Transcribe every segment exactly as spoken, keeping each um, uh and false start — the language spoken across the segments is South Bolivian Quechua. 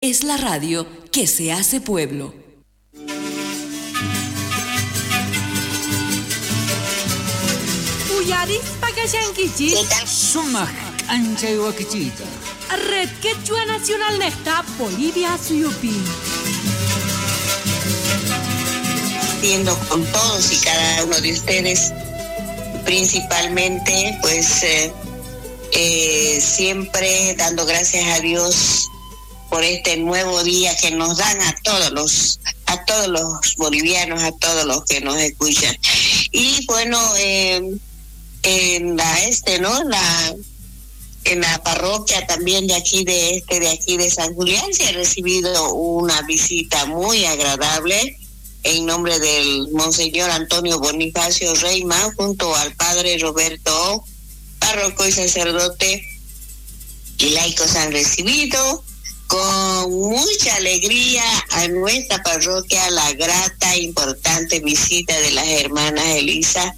Es la radio que se hace pueblo. Uyarispa kashankichis. Sumaq k'anchay wakichiyta. Red Quechua Nacional Nesta Bolivia Suyupi. Con todos y cada uno de ustedes, principalmente, pues eh, eh, siempre dando gracias a Dios por este nuevo día que nos dan a todos los a todos los bolivianos, a todos los que nos escuchan. Y bueno, eh, en la este, ¿no? La en la parroquia también de aquí de este de aquí de San Julián se ha recibido una visita muy agradable en nombre del monseñor Antonio Bonifacio Reima, junto al padre Roberto, párroco y sacerdote, y laicos han recibido con mucha alegría a nuestra parroquia la grata e importante visita de las hermanas Elisa,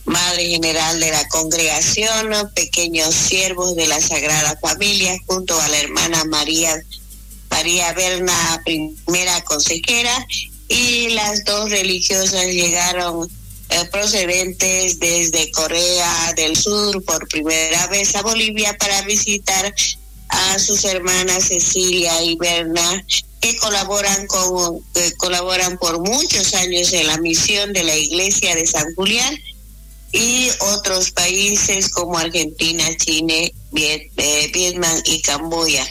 Madre General de la Congregación, Pequeños Siervos de la Sagrada Familia, junto a la hermana María, María Berna, primera consejera, y las dos religiosas llegaron eh, procedentes desde Corea del Sur por primera vez a Bolivia para visitar a sus hermanas Cecilia y Berna, que colaboran con que colaboran por muchos años en la misión de la Iglesia de San Julián y otros países como Argentina, Chile, Viet, eh, Vietnam y Camboya.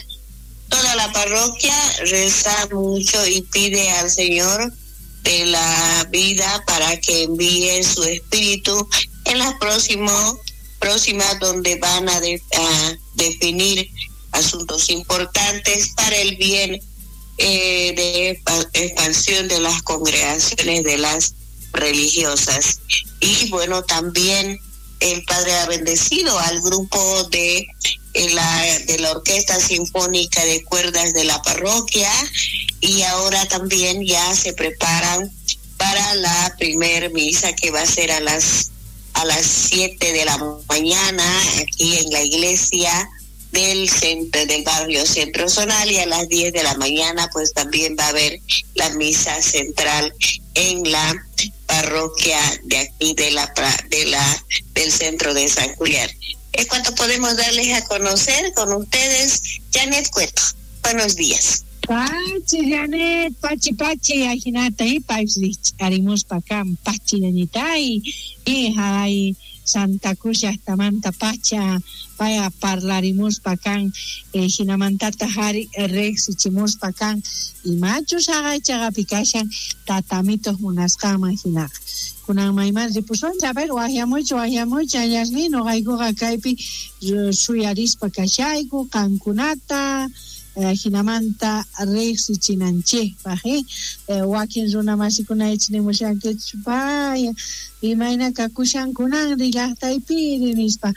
Toda la parroquia reza mucho y pide al Señor de la vida para que envíe su espíritu en las próximas próximas donde van a, de, a definir asuntos importantes para el bien eh, de expansión de las congregaciones de las religiosas. Y bueno, también el padre ha bendecido al grupo de la, de la Orquesta Sinfónica de Cuerdas de la parroquia, y ahora también ya se preparan para la primer misa que va a ser a las a las siete de la mañana aquí en la iglesia del centro del barrio Centro Zonal, y a las diez de la mañana pues también va a haber la misa central en la parroquia de aquí de la de la del centro de San Julián. Es cuanto podemos darles a conocer con ustedes. Janet Cueto, buenos días. Pachi, Janet, pachi, pachi, ajinata, y pachi, arimuspa kan, pachi, ñañitay, y hay Santa Cruz llajtamanta pacha, vaya parlarimuspa kan, eh, jinamantata hari rejsichimuspa kan, imachus haqay kashan tatamitos munasqanman hinaqa. Kunan mayman ripusunchik, a ver, waqyamuchu, waqyamuchu, añasni, noqaykuqa kaypi suyarispa kashayku, qankunata, jinamanta riqsichinanchikpaq, eh, wakin runa masikuna ichnimushankichu, paya, imayna kakushankunanri llaqtaypiri nispa,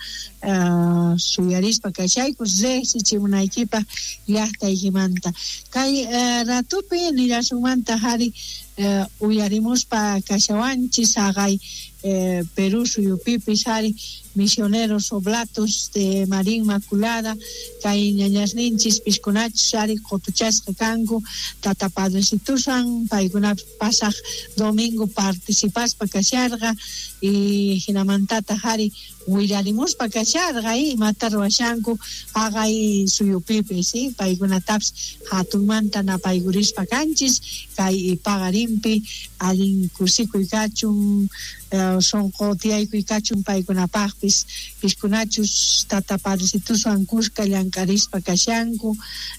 uh, suyarispa kashayku riqsichimunaykipaq llaqtaykimanta. Kay uh, ratupi nillasunmanta hari uh, uyarimuspa kashawanchis haqay eh, Perú suyupipis hari misioneros oblatos de María Inmaculada, kay ñañasninchis piskunachus ari qotuchasqa kanku tata padrecitusan, paykuna pasaq domingo participaspa kasharqa y hinamantata hari willarimuspa kasharqa imata ruwashanku haqay suyupipis, ¿sí? Paykunatapis hatunmanta napaykurispa kanchis kay paqarinpi allin kusikuy kachun, eh, sonqo tiyaykuy kachun paykunapaqpis, piskunachus tata padrecituswan kuska llank'arispa kashanku,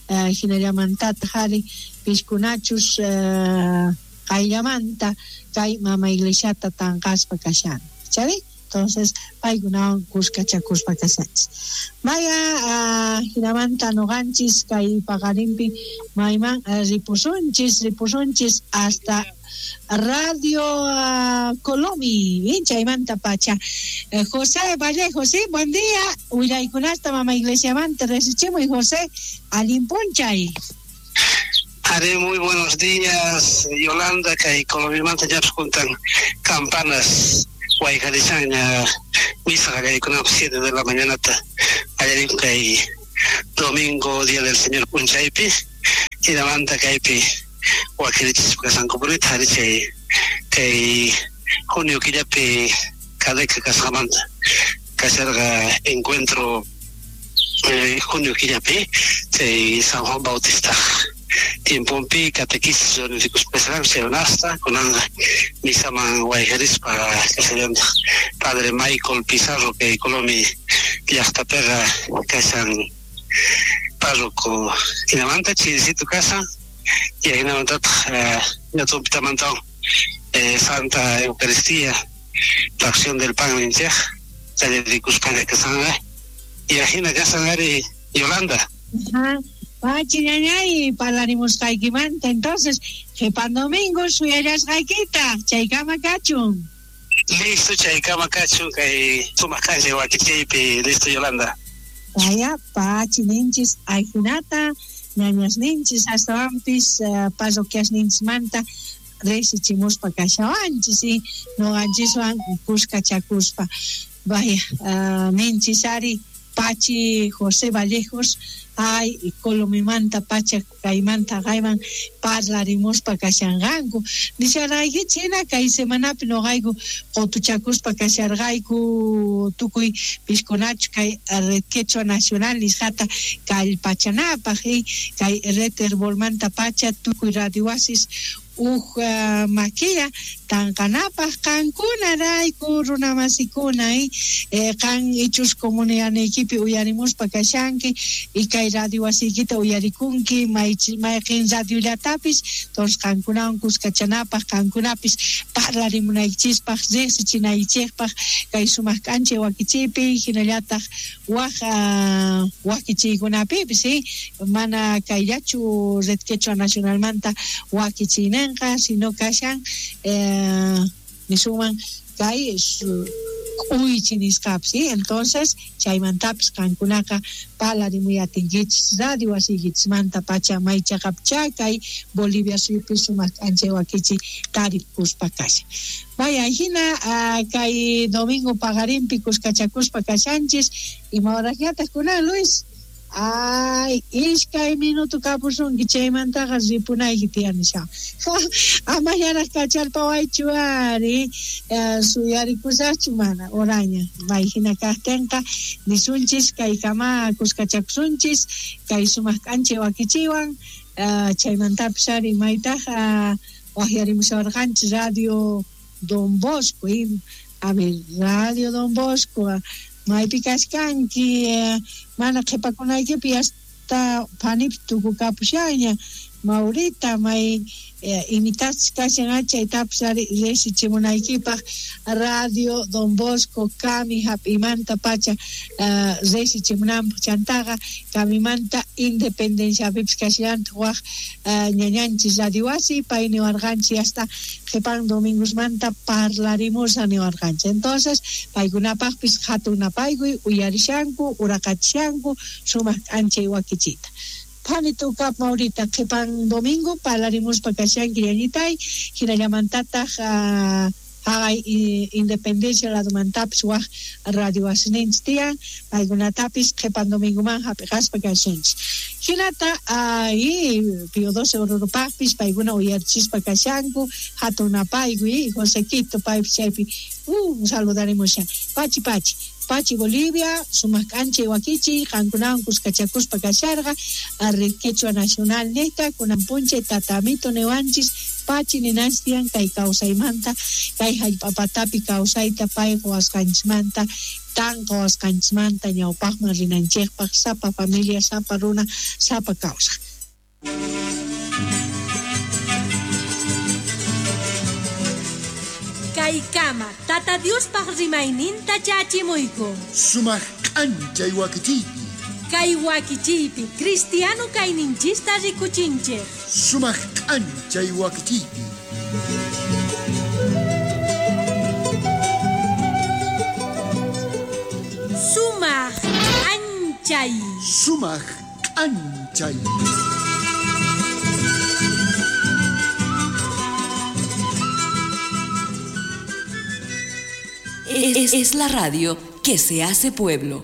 eh, hinallamantata hari piskunachus eh, qayllamanta kay mama iglesiata tanqaspa kashanku, ¿chavi? Entonces, paykunawan kuskachakuspa kashanchis. Maya, uh, hinamanta noqanchis kay paqarinpi mayman uh, ripusunchis, ripusunchis hasta Radio uh, Colomi, chaymanta pacha. Eh, José Vallejo, sí, buen día. Willaykunasta mama iglesiamanta resichimuy, José, allinpunchay. Haré muy buenos días, Yolanda, kay Colomimanta ya juntan campanas. Guayjarichaña, misa qallariykunapaq siete de la mañana, qallariyku kay domingo, Día del Señor punchaypi. Hinamanta kaypi wakirichispa kashankupunita ari chay kay junio killapi kadeka kasqamanta kasharqa encuentro eh, junio killapi chay San Juan Bautista tiempompi catequesis rikuspasan seronasta kunanqa misaman wayqarispa kasallantaq Padre Michael Pizarro kay Colomi llaqtapiqa kashan párroco hinamanta chirisito kasan y hinamantataq ñatumpitamanta eh, Santa Eucaristía la acción del pan ninchej chayrikuspaña kasanqa y ajina kasan ari Yolanda. Ajá. Pachi ñañay parlarimusqaykimanta entonces qhipan domingo suyallasqaykita chaykama kachun. Listo chaykama kachun kay sumaq k'anchay wakichiypi listo Yolanda. Vaya pachi ninchis ajinata ñañas ninchis astawanpis uh, parroquiasninchismanta risichimuspa kashawanchis y noqanchiswan kuskachakuspa. Vaya uh, ninchis ari Pachi José Vallejos ay Colomimanta pacha kaymanta kayman parlarimuspa kashanqanku nisharqaykichik hina kay semanapi noqayku qutuchakuspa kasharqayku tukuy piskunachu kay Red Quechua Nacional nisqata kallpachanapaq y kay Red Herbolmanta pacha tukuy radio wasis uj uh, makilla tanqanapaq qankunarayku runamasikuna y eh, qan ichus comunidadniykipi uyarimuspa kashanki y kay radio wasiykita uyarikunki mayqin radiollatapis entonces qankunawan kuskachanapaq qankunapis parlarimunaykichispaq riqsichinaykichikpaq kay sumaq k'anchay wakichiypi hinallataq waj uh, wakichiykunapipis ¿sí? Mana kayllachu Red Quechua Nacionalmanta wakichiyninqa sino kashan eh, nisuman kay k'uychi nisqapis ¿sí? Entonces chaymantapis qankunaqa parlarimuyatinkichis radio wasiykichismanta pacha maychaqapcha kay Bolivia suyupi sumaq k'anchay wakichi tarikuspa kashan. Vaya hina uh, kay domingo paqarinpi kuskachakuspa kashanchis ima horasñataq kunan Luis. Ay, iskay minuto kapusunki chaymantaqa ripunayki tiyanisha. Ama yaraq kacharpawaychu ari uh, suyarikusaqchu mana oraña. May hina kaqtinqa nisunchis kaykama kuskachakusunchis kay sumaq k'anchay wakichiwan uh, chaymantapis ari maytaq uh, waqyarimushawarqanchis Radio Don Bosco y, a ver, Radio Don Bosco maypi kashkanki eh, mana qhipakunaykipi hasta phanipi tukukapushaña Maurita may eh, imitachis kashan chaytapis ari risichimunaykipaq Radio Don Bosco kami hap'imanta pacha uh, risichimunanpaq chantaqa kamimanta Independenciapipis kashallantaq waq uh, ñañanchis radio wasi pay niwarqanchis hasta qhipan domingosmanta parlarimusa niwarqanchis entonces paykunapaqpis hatun napaykuy uyarishanku uraqachishanku sumaq k'anchay wakichita. Phani tukap Maurita qhipan domingo parlarimuspa kashanki ñañitay hinallamantataq uh, haqay Independencia ladumantapis waq radio wasininchis tiyan paykunatapis qhipan domingoman hap'iqaspa kashanchis hinata ay Pío doce Orurupaqpis paykuna uyarichispa kashanku hatun napaykuy Josequito paypis chaypi uh, saludarimushan pachi pachi Pachi Bolivia, sumaq k'anchay wakichiy qankunawan kuskachakuspa kasharqa Red Quechua Nacional niyta kunan p'unchay tatamito niwanchis pachi ninanchis tiyan kay kawsaymanta kay hallp'apatapi kawsayta pay quwasqanchismanta tanqawasqanchismanta ñawpaqman rinanchikpaq sapa familia sapa runa sapa kawsaq. Kaykama Tata Diospaq rimayninta chachimuyku. Sumaq k'anchay wakichiypi. Kay wakichiypi cristiano kayninchista rikuchinchik. Sumaq k'anchay wakichiypi. Sumaq k'anchay. Sumaq k'anchay. Es, es la radio que se hace pueblo.